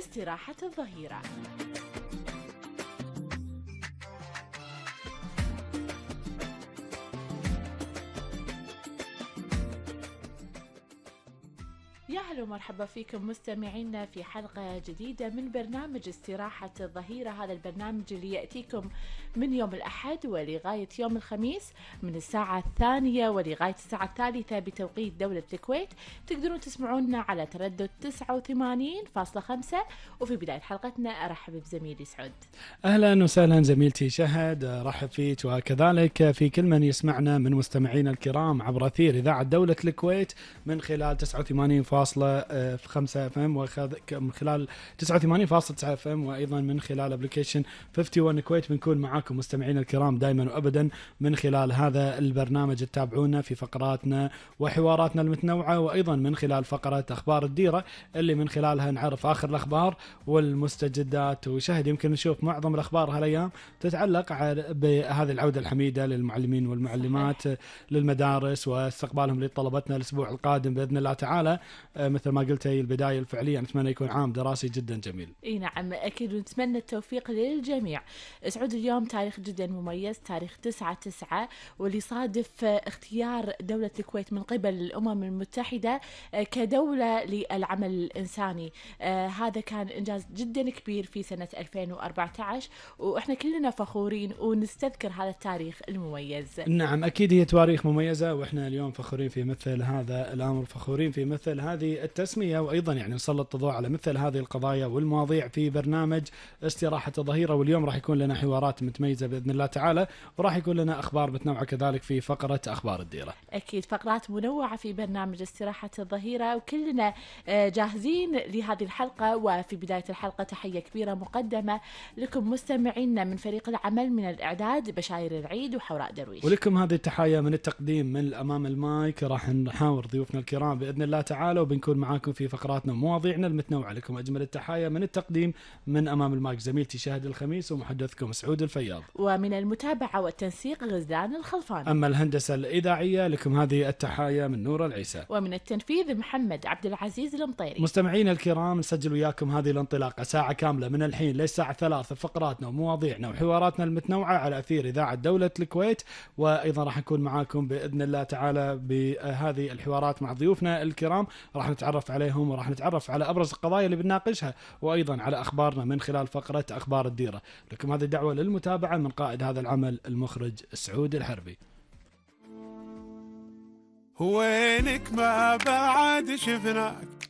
استراحة الظهيرة. يا هلا ومرحبا فيكم مستمعينا في حلقة جديدة من برنامج استراحة الظهيرة. هذا البرنامج اللي يأتيكم من يوم الأحد ولغاية يوم الخميس من الساعة 2 ولغاية الساعة 3 بتوقيت دولة الكويت. تقدرون تسمعونا على تردد 89.5. وفي بداية حلقتنا أرحب بزميلي سعود. أهلا وسهلا زميلتي شهد، رحب فيك وكذلك في كل من يسمعنا من مستمعينا الكرام عبر أثير إذاعة دولة الكويت من خلال 89.5 FM ومن خلال 89.9 FM وأيضا من خلال أبليكيشن 51 كويت. بنكون معاكم مستمعينا الكرام دائما وأبدا من خلال هذا البرنامج. تتابعونا في فقراتنا وحواراتنا المتنوعة، وأيضا من خلال فقرة أخبار الديرة اللي من خلالها نعرف آخر الأخبار والمستجدات. وشهد يمكن نشوف معظم الأخبار هالأيام تتعلق بهذه العودة الحميدة للمعلمين والمعلمات للمدارس واستقبالهم لطلبتنا الأسبوع القادم بإذن الله تعالى. مثل ما قلت هي البداية الفعلية، نتمنى يكون عام دراسي جدا جميل. اي نعم اكيد، ونتمنى التوفيق للجميع. سعود اليوم تاريخ جدا مميز، تاريخ 9/9 واللي صادف اختيار دولة الكويت من قبل الأمم المتحدة كدولة للعمل الإنساني. هذا كان إنجاز جدا كبير في سنة 2014 وإحنا كلنا فخورين ونستذكر هذا التاريخ المميز. نعم أكيد هي تواريخ مميزة، وإحنا اليوم فخورين في مثل هذا الأمر، فخورين في مثل هذه التسمية، وأيضا يعني نسلط الضوء على مثل هذه القضايا والمواضيع في برنامج استراحة الظهيرة. واليوم راح يكون لنا حوارات متميزة بإذن الله تعالى، وراح يكون لنا أخبار متنوعة كذلك في فقرة أخبار الديرة. أكيد فقرات منوعة في برنامج استراحة الظهيرة، وكلنا جاهزين لهذه الحلقة. وفي بداية الحلقة تحية كبيرة مقدمة لكم مستمعينا من فريق العمل من الإعداد بشاير العيد وحوراء درويش، ولكم هذه التحية من التقديم من أمام المايك. راح نحاور ضيوفنا الكرام بإذن الله تعالى، وبنكون معاكم في فقراتنا ومواضيعنا المتنوعة. لكم أجمل التحايا من التقديم من أمام المايك زميلتي شهد الخميس ومحدثكم سعود الفياض، ومن المتابعة والتنسيق غزلان الخلفان. أما الهندسة الإذاعية لكم هذه التحايا من نور العيسى، ومن التنفيذ محمد عبد العزيز المطيري. مستمعين الكرام نسجل وياكم هذه الانطلاقة ساعة كاملة من الحين للساعة 3، فقراتنا ومواضيعنا وحواراتنا المتنوعة على أثير إذاعة دولة الكويت. وأيضا راح نكون معاكم بإذن الله تعالى بهذه الحوارات مع ضيوفنا الكرام، راح نتعرف عليهم وراح نتعرف على أبرز القضايا اللي بنناقشها، وأيضا على أخبارنا من خلال فقرة أخبار الديرة. لكم هذه الدعوة للمتابعة من قائد هذا العمل المخرج سعود الحربي. وينك ما بعد شفناك